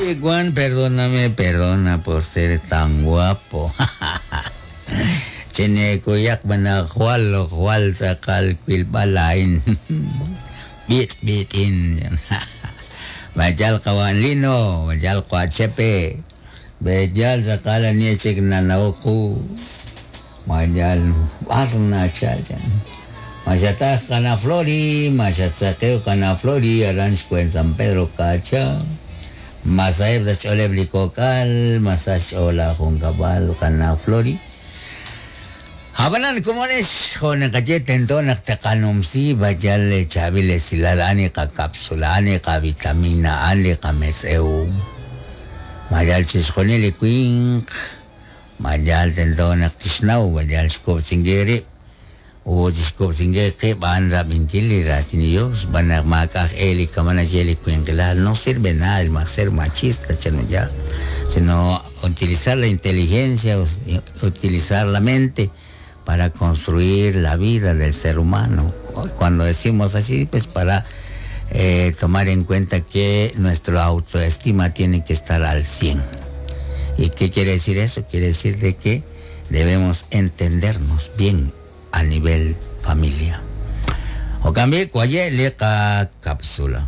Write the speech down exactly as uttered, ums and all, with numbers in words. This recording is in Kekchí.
Juan, perdóname, perdona por ser tan guapo. Chinekuyak manajwal, jual sakal kwilbalain. Bit bitin. Majal kawan lino, majal kwa chepe. Bejal sakala niya chik nanauku. Majal arna chalchan. Mayatá kana flori, mayatzakeo kana flori, aranch en San Pedro Cacha. Masaeb da chole blikokal, masach ola junkabal kana flori. Habanan kumones, jonen kaye tento tekanumsi, bayal chavile silal ani ka cápsula, ani ka vitamina, ani ka meseu. Mayal chisjonili quink, mayal tento naktisnau, bayal shkopsingeri. O que van van a no sirve nada el ser machista, ya, sino utilizar la inteligencia, utilizar la mente para construir la vida del ser humano. Cuando decimos así, pues para eh, tomar en cuenta que nuestra autoestima tiene que estar al cien. ¿Y qué quiere decir eso? Quiere decir de que debemos entendernos bien a nivel familia. O cambie cuaye leca cápsula.